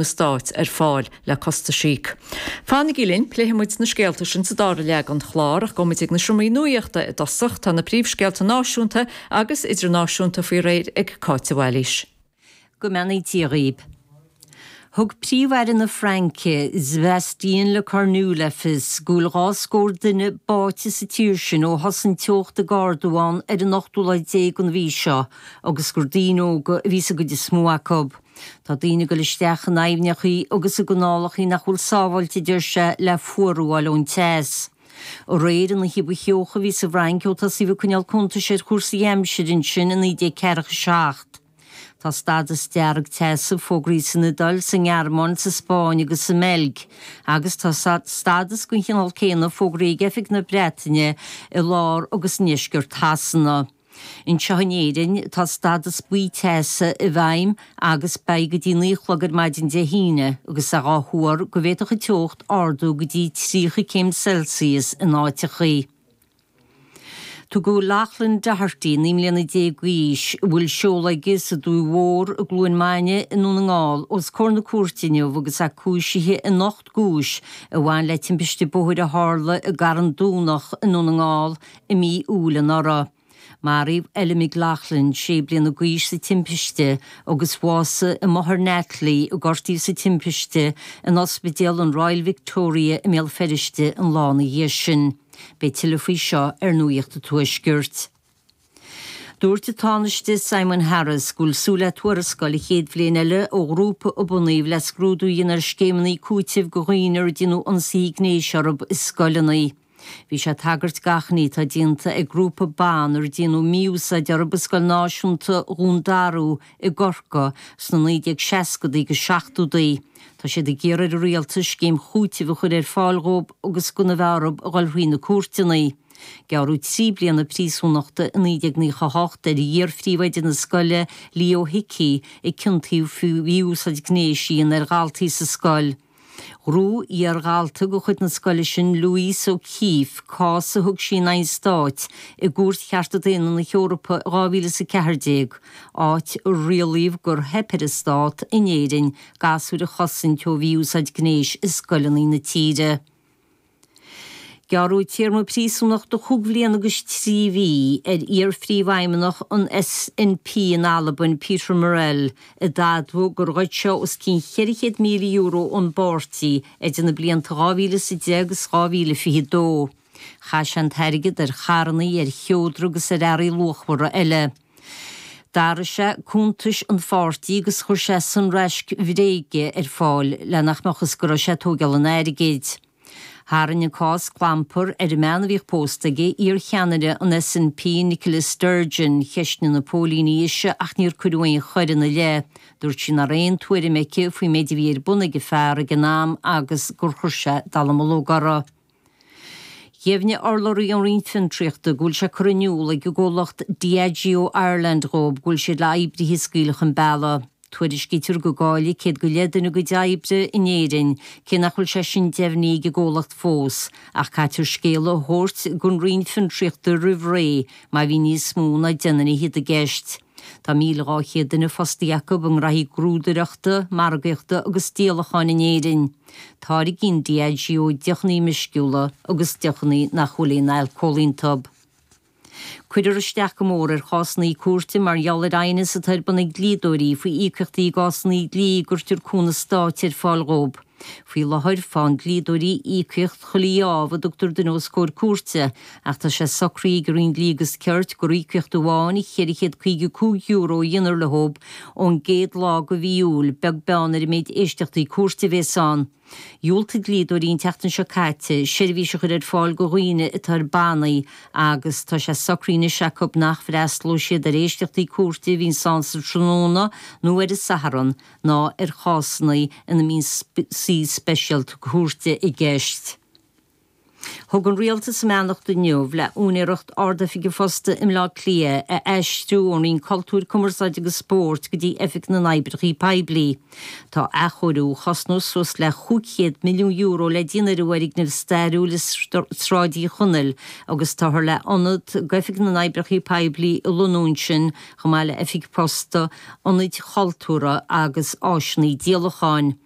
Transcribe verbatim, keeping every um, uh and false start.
Stáit ar fáil le costais a íoc. Fanaigí linn, pléifidh muid na scéalta sin sa dara leath den chlár ach gabhfaidh muid ag na seomraí nuachta i dtosach tá na príomhscéalta náisiúnta agus idirnáisiúnta faoi réir ag Cáit de Bhailís. Go mbeannaí Dia dhaoibh. Thug Príomh-Aire na Fraince Sébastien Lecornu le fios go bhfuil dhá scór duine báite sa tír sin ó thosaigh an teocht ag ardú ann ar an ochtú lá déag den mhí seo agus gur daoine óga a bhí sa gcuid is mó acu. Tá daoine ag dul isteach in aibhneachaí agus i gcanálachaí nach bhfuil sábháilte deir sé le fuarú a fháil ón teas. Aréir an oíche ba theocha a bhí sa bhFrainc ó tosaíodh ag coinneáil cuntais ar chúrsaí aimsire ansin i naoi déag ceathracha seacht. Tá stádas dearg teasa fógraithe san Iodáil, sa nGearmáin, sa Spáinn agus sa mBeilg, agus tá stádas den chineál céanna fógraithe ag Oifig na Breataine i lár agus i ndeisceart Shasana. Anseo in Éirinn, tá stádas buí teasa i bhfeidhm agus beidh go dtí naoi a chlog ar maidin Dé hAoine agus é á thuar go bhféadfadh an teocht ardú go dtí tríocha céim Celsius in áiteachaí. Tugadh Loughlin Doherty, naoi mbliana déag d'aois, a bhfuil seoladh aige sa Dumhaigh Mhór i gCluain Maine i nDún na nGall, os comhair na cúirte inniu agus é cúisithe in ocht gcúis a bhain le timpiste bóthair a tharla i gCarn Domhnach i nDún na nGall i mí Iúil anuraidh. Maraíodh Ella McLaughlin, sé bliana d'aois, sa timpiste agus bhásaigh a máthair Natalie, a gortaíodh sa timpiste, in ospidéal an Royal Victoria i mBéal Feirste an lá ina dhiaidh sin. Beidh tuilleadh faoi seo ar Nuacht an Tuaiscirt. Dúirt an Tánaiste Simon Harris go bhfuil súil le tuarascáil an chéad bhliain eile ó ghrúpa a bunaíodh le scrúdú a dhéanamh ar scéimeanna cúitimh do dhaoine ar déanadh ionsaithe gnéis orthu i scoileanna. Bhí sé ag tagairt d'achainí atá déanta ag grúpa ban ar déanadh mí-úsáid orthu i Scoil Náisiúnta Dhún Darú i gCorcaigh sna naoi déag seascadaí agus seachtódaí. Tá siad ag iarraidh ar an rialtas scéim chúitimh a chur ar fáil dhóibh agus gan a bheith orthu a dhul thrí na cúirteanna. Gearradh trí bliana príosúnachta i naoi déag naocha a hocht ar iar-phríomhoide na scoile Leo Hickey a ciontaíodh faoi mhí-úsáid gnéis a dhéanamh ar dhaltaí sa scoil. Ghnóthaigh iar-dhalta de chuid na scoile sin Louise O'Keeffe cás a thug sí in aghaidh an stáit i gCúirt Chearta Daonna na hEorpa i dhá mhíle is a ceathair déag, áit a rialaíodh gur theip ar an stát in Éirinn gasúir a chosaint ó mhí-úsáid gnéis i scoileanna na tíre. Gearradh téarma príosúnachta chúig bhliain agus trí mhí ar iar-phríomhfheidhmeannach an SNP in Albain, Peter Murrell, a d'admhaigh gur ghoid sé os cionn cheithre chéad míle euro ón bpáirtí idir na blianta dhá mhíle is a deich agus dhá mhíle fiche dó. Chaith sé an t-airgead ar charranna, ar sheodra agus ar earraí luachmhara eile. D'athraigh sé cuntais an pháirtí agus chuir sé sonraisc bhréige ar fáil le nach mbeadh fhios go raibh sé ag tógáil an airgid. Tharraing an cás clampar ar an mbean a bhíodh pósta aige, iarcheannaire an SNP Nicola Sturgeon. Cheistigh na póilíní ise ach níor cuireadh aon choir ina leith. Dúirt sí nach raibh aon tuairim aici faoin méid a bhí ar bun ag a fear ag an am agus gur chuir sé dallamullóg uirthi. Dheimhnigh urlabhraí ón Roinn Fiontraíochta go bhfuil sé curtha in iúl ag an gcomhlacht Diageo Ireland dhóibh go bhfuil siad le oibrithe a scaoileadh chun bealaigh. Tuairiscítear go gcaillfidh céad go leith duine a gcuid oibre in Éirinn, cé nach bhfuil sé sin deimhnithe ag an gcomhlacht fós, ach caitear scéala a thabhairt don Roinn Fiontraíochta roimh ré má bhíonn níos mó ná deich nduine fhichead i gceist. Tá míle dhá chéad duine fostaithe acu i ngraithí grúdaireachta, margaíochta agus díolacháin in Éirinn. Táirgíonn Diageo deochanna meisciúla agus deochanna nach bhfuil aon alcól iontu. Cuirfear isteach go mór ar chásanna cúirte mar gheall ar aighneas atá ar bun ag dlíodóirí faoi íocaíochtaí i gcásanna dlí a gcuirtear cúnamh stáit ar fáil dhóibh. Faoi láthair, faigheann dlíodóirí íocaíocht chuile gheábh a dtugtar duine os comhair cúirte, ach tá sé socraithe ag an Roinn Dlí agus Cirt gur íocaíocht amháin cheithre chéad caoga cúig euro a dhéanfar leo ón gcéad lá de mhí Iúil, beag beann ar an méid éisteachtaí cúirte a bhéas ann. Dhiúltaigh dlíodóirí an tseachtain seo caite seirbhís a chur ar fáil do dhaoine atá ar bannaí agus tá sé socraithe anois acu nach bhfreastalóidh siad ar éisteachtaí cúirte a bhíonns ann sa tráthnóna nó ar an Satharn ná ar chásanna ina mbíonn suí speisialta cúirte i gceist. Thug an rialtas a mbeannacht inniu le úinéireacht Ard-Oifig an Phosta i mBleá Cliath a aistriú ón Roinn Cultúir, Cumarsáide agus Spóirt go dtí Oifig na nOibreacha Poiblí. Tá athchóiriú a chosnós suas le chúig chéad milliún euro le déanamh ar an bhfoirgneamh stairiúil i Sráid Uí Chonaill agus táthar le ionad d'Oifig na nOibreacha Poiblí a lonnú ansin chomh maith le oifig posta, ionaid chultúrtha agus áiseanna díolacháin.